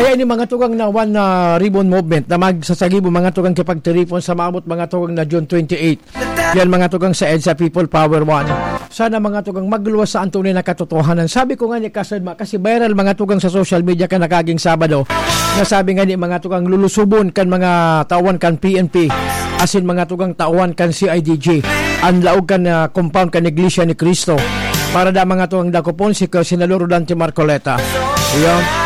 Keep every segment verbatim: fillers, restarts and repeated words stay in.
Kaya ini mga tugang na One, ah, Ribbon Movement na magsasagibo mga tugang kipagtiripon sa maabot mga tugang na June twenty-eight. Yan mga tugang sa EDSA People Power One. Sana mga tugang magluwas sa antunay na katotohanan. Sabi ko nga ni Kasadma, kasi viral mga tugang sa social media kan nagkaging Sabado, na sabi nga ni mga tugang lulusubon kan mga tauhan kan P N P, asin mga tugang tauhan kan C I D G, ang laog kan, ah, compound kan Iglesia ni Cristo. Para da mga tugang dakopon si Senador Rodante Marcoleta. Iyo.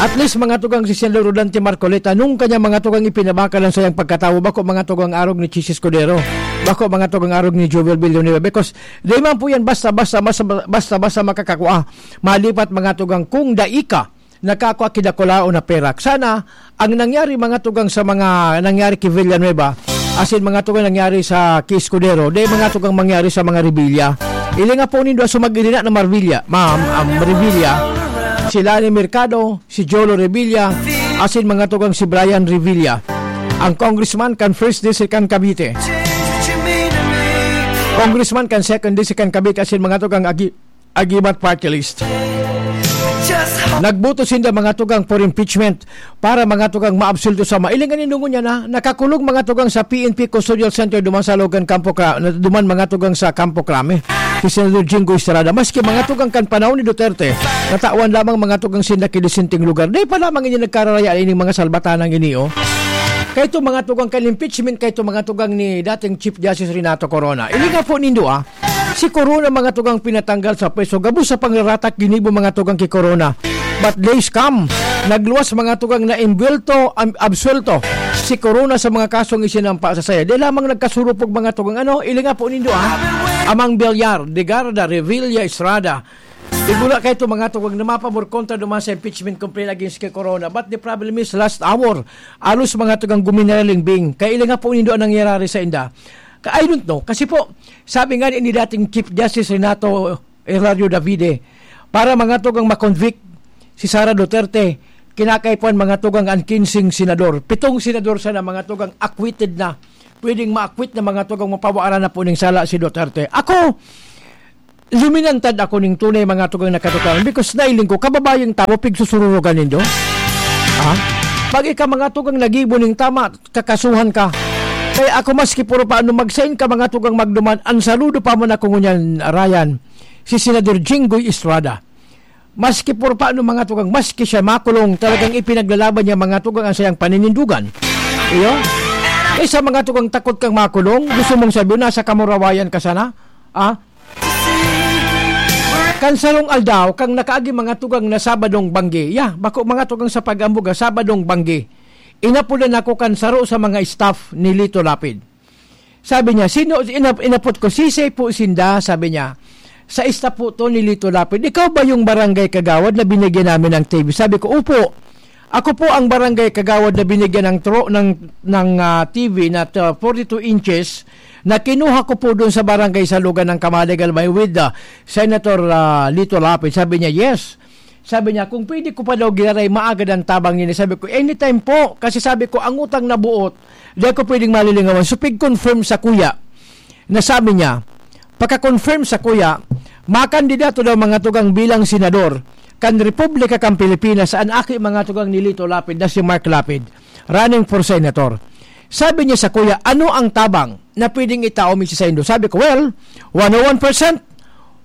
At least, mga tugang, si Senador Rodante Marcoleta, nung kanya mga tugang ipinabakal ang sayang pagkatawo, bako mga tugang arog ni Chichi Escudero, bako mga tugang arog ni Joel Villanueva, because di man po yan basta-basta, basta-basta makakakua. Malipat mga tugang kung dai ka nakakua kidakulaon na perak. Sana, ang nangyari mga tugang sa mga nangyari kay Villanueva, asin mga tugang nangyari sa kay Escudero, di mga tugang mangyari sa mga Revilla. Ili nga po nindo, so mag-irina na Marvilla, ma'am, um, Revilla, sila ni Mercado, si Jolo Revilla, asin mga tugang si Brian Revilla. Ang congressman kan First District kan Cavite. Congressman kan Second District kan Cavite, asin mga tugang agi-, agimat party list. Nagboto sinda mga tugang for impeachment para mga tugang maabsulto sa ma-, ilingan ni Nungo niya na nakakulong mga tugang sa P N P Custodial Center duman sa Logan Campo Cra-, na duman mga tugang sa Campo Crame. Si Senador Jinggoy Estrada, maski mga tugang kan panahon ni Duterte, natawan lamang mga tugang sinda ki disenteng lugar. Di pa lamang ini nagkararaya ining mga salbatanang ini, oh. Kay ito mga tugang kan impeachment, kay ito mga tugang ni dating Chief Justice Renato Corona. Ilinga po nindo, ah. Si Corona mga tugang pinatanggal sa pwesto, gabos sa pangraratak ginibo mga tugang ki Corona. But days come, nagluwas mga tugang na imbwelto, am-, absuelto si Corona sa mga kasong isinampa sa saya. Di lamang nagkasurupog mga tugang, ano, ilinga po nindo, ah. Amang Villar, Legarda, Revilla, Estrada. Igula kay ito mga tugang na mapabor kontra duman sa impeachment complaint against kay Corona. But the problem is, last hour, alos mga tugang guminaling bing. Kaya ilinga po nindo ang nangyayari sa inda. Ka-, I don't know. Kasi po, sabi nga ni dating Chief Justice Renato Hilario Davide, para mga tugang ma-convict si Sara Duterte, kinakaipuhan mga tugang ang kinseng senador. Pitong senador sana mga tugang acquitted na. Pwedeng ma-acquit na mga tugang, mapawaran na po ning sala si Duterte. Ako, luminantad ako ning tunay mga tugang na katotohanan because nailing ko, kababayang tawo, pigsusururugan nindo. Ha? Pag ika mga tugang nagibo ning tama, kakasuhan ka. Kaya ako, maski puro paano, mag-sign ka, mga tugang magduman, ang saludo pa man ako ngunyan, Ryan, si Senador Jinggoy Estrada. Maski puro paano, mga tugang, maski siya makulong, talagang ipinaglalaban niya, mga tugang, ang sayang paninindugan. Iyo? Kaysa mga tugang takot kang makulong, gusto mong sabihin, nasa kamurawayan ka sana? Ah? Kan sarong aldaw, kang nakaagi mga tugang na Sabadong banggi. Ya, bako mga tugang sa pag-ambuga, Sabadong banggi. Inapodan ako kan saro sa mga staff ni Lito Lapid. Sabi niya, "Sino," inap-, inapot ko, "Sisay po sinda?" Sabi niya, "Sa staff po to ni Lito Lapid." "Ikaw ba yung barangay kagawad na binigyan namin ng T V?" Sabi ko, "Opo. Ako po ang barangay kagawad na binigyan ng tro-, ng, ng, ah, T V na, ah, forty-two inches na kinuha ko po doon sa barangay sa Lugan ng Kamalig Albay with, ah, Senator, ah, Lito Lapid." Sabi niya, "Yes." Sabi niya, "Kung pwede ko pa daw giraray maagad ang tabang nini." Sabi ko, "Anytime po." Kasi sabi ko, ang utang na buot, di ako pwedeng malilingawan. So, pig-confirm sa kuya na sabi niya, pagka-confirm sa kuya, makandidato daw mga tugang bilang senador kan Republika kan Pilipinas, an aki mga tugang ni Lito Lapid na si Mark Lapid, running for senator. Sabi niya sa kuya, "Ano ang tabang na pwedeng itao mi sa saindo?" Sabi ko, "Well, one oh one percent,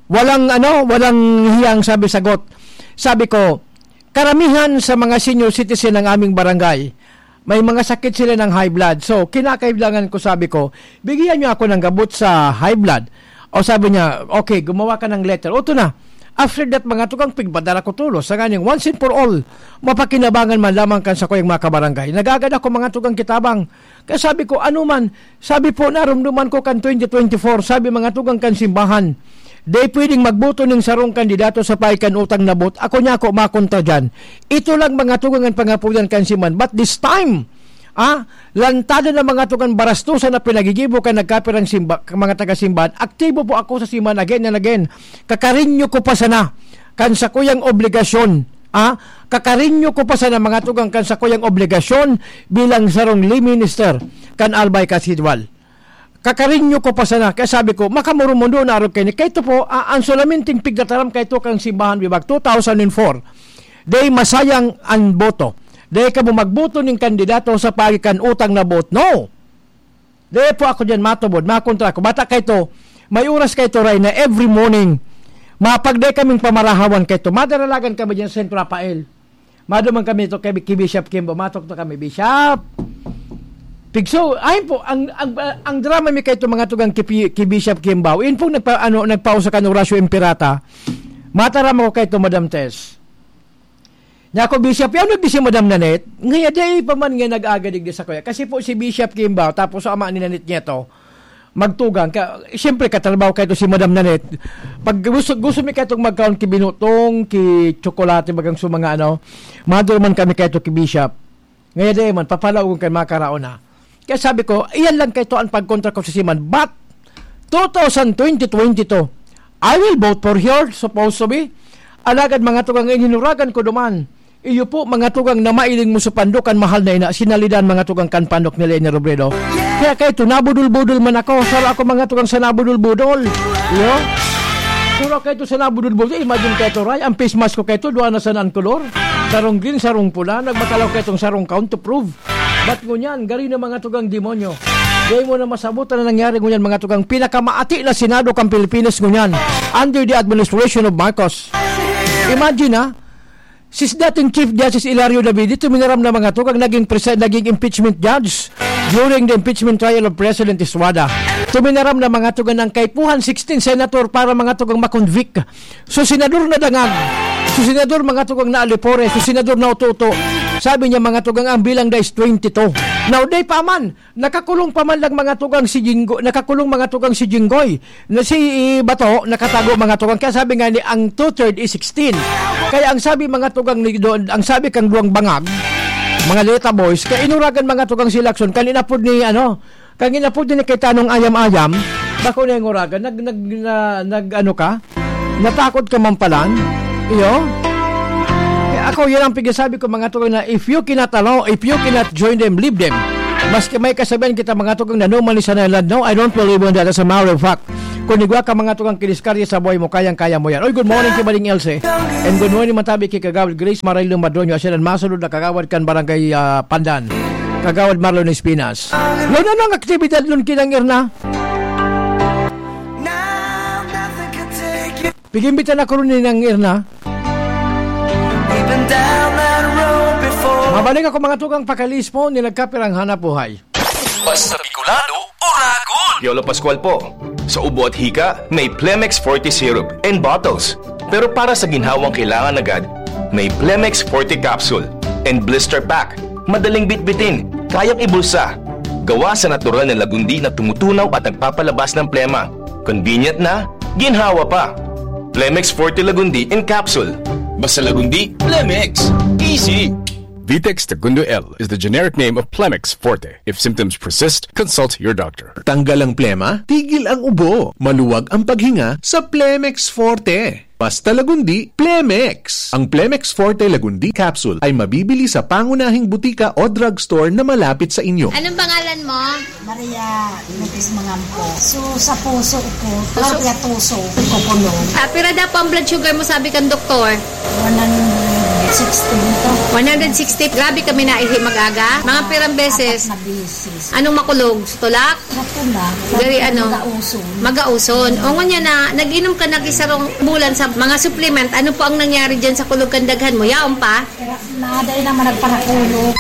walang ano, walang hiyang sabi sagot." Sabi ko, "Karamihan sa mga senior citizen ng aming barangay, may mga sakit sila ng high blood. So, kinakailangan ko," sabi ko, "bigyan niyo ako ng gabot sa high blood." O sabi niya, "Okay, gumawa ka ng letter." O, ito na. After that, mga tugang, pigpadala ko tulos. Sa nganing once and for all, mapakinabangan man lamang kan sakuyang mga kabarangay. Nagagad ako, mga tugang, kitabang. Kaya sabi ko, "Ano man?" Sabi po, narumduman ko kan twenty twenty-four, sabi mga tugang kan simbahan, "Di pwedeng magboto ning sarong kandidato sa pahay kan utang na buot. Ako niya ako makontra dyan." Ito lang mga tugang ang pangapunan kan simbahan. But this time, ah, lantadan ng mga tugang barastusan na pinagigibo kan nagkapirang simba-, mga taga-simbahan, aktibo po ako sa simbahan again and again. Kakarinyo ko pa sana kan sakuyang obligasyon, ah, kakarinyo ko pa sana mga tugang kan sakuyang obligasyon bilang sarong lay minister kan Albay Cathedral. Kakarinyo ko pa sana, kaya sabi ko, "Makamurumundo na arog kaini." Kaya ito po, ah, ang solamenting pigtataram kay ito kang simbahan, bibag two thousand and four. Dai masayang an boto. Dai kamo magboto ning kandidato sa paagi kan utang na boot. No! Dai po ako diyan matubod, makontra ako. Bata kaito, may oras kaito, Ray, na every morning, mapagday kaming pamarahawan kaito. Madaralagan kami diyan sa Saint Rafael. Maduman kami to kay, kay Bishop Kimbo. Matok to kami, "Bishop!" Pigso, ayun po, ang, ang, ang drama mi kaito, mga tugang, kay, Pi- kay Bishop Kimbo. Yun pong nagpa, ano, nagpausa kan Horacio Imperata. Mataram ako kaito, Madam Tess. Nya ako, "Bishop, yaon nagdi si Madam Nanette?" Ngaya, di pa man nga nag-aga digdi sa kuya. Kasi po si Bishop Kimbo, tapos sa ama ni Nanette niya to, magtugang. Ka, siyempre, katrabaho kaito si Madam Nanette. Pag gusto, gusto mi kaitong magkaon ki binutong, ki tsokolate, bagang sa mga ano, maduro man kami kaito ki Bishop. Ngaya di man, papalaogon kan mga karaon na. Kaya sabi ko, iyan lang kaito ang pagkontra ko sa siman. But, two thousand twenty, twenty-two, I will vote for her, supposed to be. Alagad, mga tugang, ininuragan ko duman. Iyo po, mga tugang, na mailing mo sa pandok, ang mahal na ina, sinalidan, mga tugang, kan pandok ni Leni Robredo. Kaya kaito, nabudol-budol man ako. Saro ako, mga tugang, sa nabudol-budol. Iyo? Saro kaito sa nabudol-budol. Imagine kaito, Ray, ang face mask ko kaito, duwa na sana ang kolor. Sarong green, sarong pula. Nagmatalaw kaitong sarong gown to prove. But ngunyan, gari na, mga tugang, demonyo. Di mo na masabot na nangyari ngunyan, mga tugang, pinakamaati na Senado kang Pilipinas ngunyan under the administration of Marcos. Imagine, ha? Si dating Chief Justice Hilario Davide, tuminaram na, mga tugang, naging presi-, naging impeachment judge during the impeachment trial of President Estrada. Tuminaram na, mga tugang, ng kaipuhan sixteen senator para, mga tugang, makonvict. So, senador na dangag. So, senador, mga tugang, na alipore. So, senador na uto-uto. Sabi niya, mga tugang, ang bilang da is twenty-two. Now, di pa man. Nakakulong pa man lang, mga tugang, si Jinggo-, nakakulong, mga tugang, si Jinggoy. Na si Bato, nakatago, mga tugang. Kaya sabi nga ni, ang two-third is sixteen. Kaya ang sabi, mga tugang, ni doon, ang sabi kang duwang bangag, mga Leta Boys, kaya inuragan, mga tugang, si Lacson, kan inapod ni, ano, kan inapod ni Cayetano ayam-ayam, bako na yung uragan, nag-, nag-, na-, nag-, ano ka? Natakot ka man palan? Iyo? Eh, ako, yan ang pigsasabi ko, mga tugang, na if you cannot allow, if you cannot join them, leave them. Maski may kasabihan kita, mga tugang, na no man is an island, no, I don't believe in that. As a matter of fact, kung igwa ka, mga tugang, kiniskarya sa buhay mo, kayang-kaya mo yan. Oy, good morning, Kibaling Else. And good morning, Matabi, kay Kagawad Grace Maray Lumadroño, asya nan masunod na kagawad kan Barangay, ah, Pandan. Kagawad Marlon Espinas. Lon, ano ang aktibidad nun kinang Erna? Pig-imbita na ko rin ni Nang Erna. Mabalik ako, mga tugang, pakalispo ni nagkapirang hanap buhay. Basta Bicolano, Oragon! Piolo Pascual po. Sa ubo at hika, may Plemex Forte Syrup and bottles. Pero para sa ginhawang kailangan agad, may Plemex Forte Capsule and Blister Pack. Madaling bitbitin, kayang ibulsa. Gawa sa natural na lagundi na tumutunaw at nagpapalabas ng plema. Convenient na, ginhawa pa. Plemex Forte Lagundi in capsule. Basta Lagundi, Plemex. Easy! Vitex Tagundo L is the generic name of Plemex Forte. If symptoms persist, consult your doctor. Tanggal ang plema, tigil ang ubo. Maluwag ang paghinga sa Plemex Forte. Basta Lagundi, Plemex. Ang Plemex Forte Lagundi Capsule ay mabibili sa pangunahing butika o drugstore na malapit sa inyo. Anong pangalan mo? Maria Lopez Mangampo. So, sa puso ko, puso, puso, kukulo. Ah, pira daw po ang blood sugar mo, sabi kang doktor? One hundred sixty to. One hundred sixty. Grabe kami naihi mag-aga. Mga pirang beses? Apat na beses. Anong makulog? Tulak? Sa tulak. Gari, ano? Magauson. Magauson. O, ngunyan na, nag-inom ka na isarong bulan sa mga supplement. Ano po ang nangyari dyan sa kulog kan daghan mo? Yaon pa? Pero naday naman nagparakulo.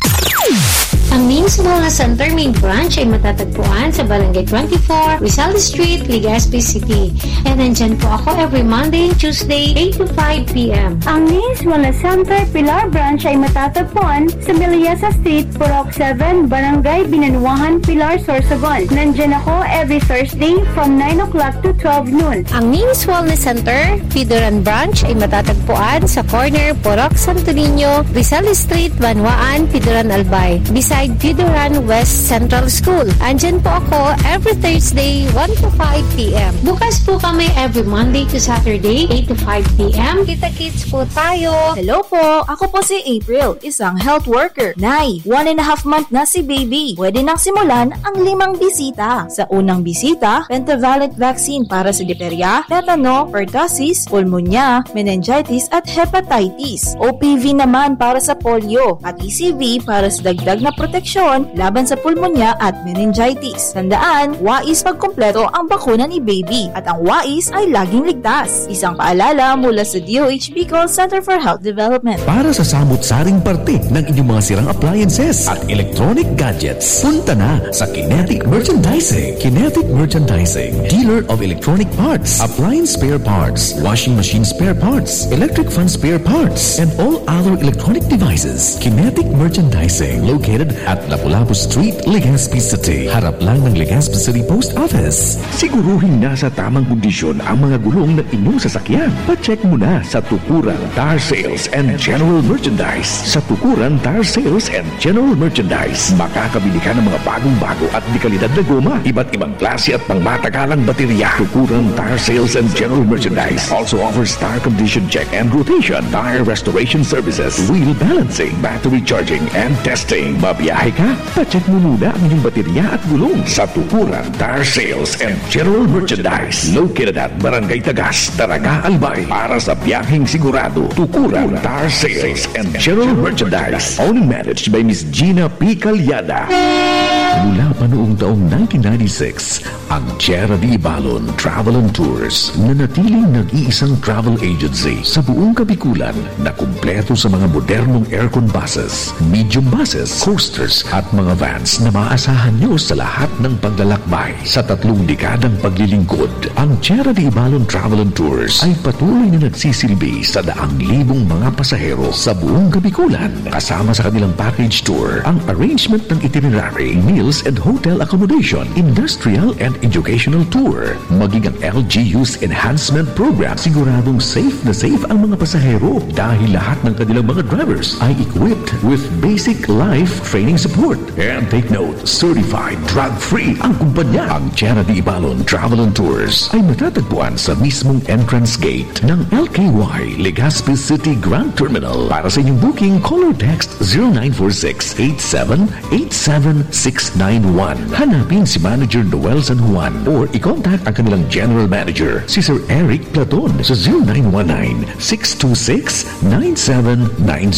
Ang Means Wellness Center main branch ay matatagpuan sa Barangay twenty-four, Rizal Street, Legazpi City. And nandyan po ako every Monday and Tuesday, eight to five p m. Ang Means Wellness Center Pilar Branch ay matatagpuan sa Meliasa Street, Purok seven, Barangay Binanuahan, Pilar, Sorsogon. Nandyan ako every Thursday from nine o'clock to twelve noon. Ang Means Wellness Center, Pidoran Branch, ay matatagpuan sa corner Purok Santo Niño, Rizal Street, Banwaan, Pidoran, Albay. Bisa Ay, Bidoran West Central School. Andyan po ako every Thursday, one to five p m. Bukas po kami every Monday to Saturday, eight to five p m. Kita-kits po tayo. Hello po, ako po si April, isang health worker. Nay, one and a half month na si baby. Pwede nang simulan ang limang bisita. Sa unang bisita, pentavalent vaccine para sa diphtheria, tetano, pertussis, pulmonya, meningitis at hepatitis. O P V naman para sa polio at E C V para sa dagdag na proteksyon laban sa pulmonya at meningitis. Tandaan, wais pagkumpleto ang bakuna ni baby at ang wais ay laging ligtas. Isang paalala mula sa D O H Bicol Center for Health Development. Para sa samot-saring parte ng inyong mga sirang appliances at electronic gadgets, punta na sa Kinetic Merchandising. Kinetic Merchandising, dealer of electronic parts, appliance spare parts, washing machine spare parts, electric fan spare parts, and all other electronic devices. Kinetic Merchandising, located at Lapu-Lapu Street, Legazpi City. Harap lang ng Legazpi City Post Office. Siguruhing nasa tamang kondisyon ang mga gulong ng inyong sasakyan. Pa-check muna sa Tukuran Tire Sales and General Merchandise. Sa Tukuran Tire Sales and General Merchandise, makakabili ka ng mga bagong-bago at dekalidad na goma, iba't ibang klase at pangmatagalang baterya. Tukuran Tire Sales and General Merchandise also offers tire condition check and rotation, tire restoration services, wheel balancing, battery charging and testing. Mabiyahe ka? Pa-check mo muna ang inyong baterya at gulong sa Tukuran Tire Sales and General Merchandise, located at Barangay Tagas, Daraga, Albay. Para sa biyaheng sigurado, Tukuran Tire Sales and General Merchandise. Owned and managed by Miss Gina P. Calyada. Mula pa noong taong nineteen ninety-six, ang Tierra de Ibalon Travel and Tours, nanatiling nag-iisang travel agency sa buong Kabikulan na kumpleto sa mga modernong aircon buses, medium buses, coasters at mga vans na maaasahan nyo sa lahat ng paglalakbay. Sa tatlong dekadang paglilingkod, ang Tierra de Ibalon Travel and Tours ay patuloy na nagsisilbi sa daang libong mga pasahero sa buong Kabikulan, kasama sa kanilang package tour, ang arrangement ng itinerary, meals and hotel accommodation, industrial and educational tour, maging ang L G U's enhancement program. Siguradong safe na safe ang mga pasahero dahil lahat ng kanilang mga drivers ay equipped with basic life training support. And take note, certified drug-free ang kumpanya. Ang Tierra de Ibalon Travel and Tours ay matatagpuan sa mismong entrance gate ng L K Y Legazpi City Grand Terminal. Para sa inyong booking, call or text zero nine four six eight seven eight seven six nine one. Hanapin si Manager Noel San Juan or i-contact ang kanilang General Manager, si Sir Eric Platon, sa zero nine one nine six two six nine seven nine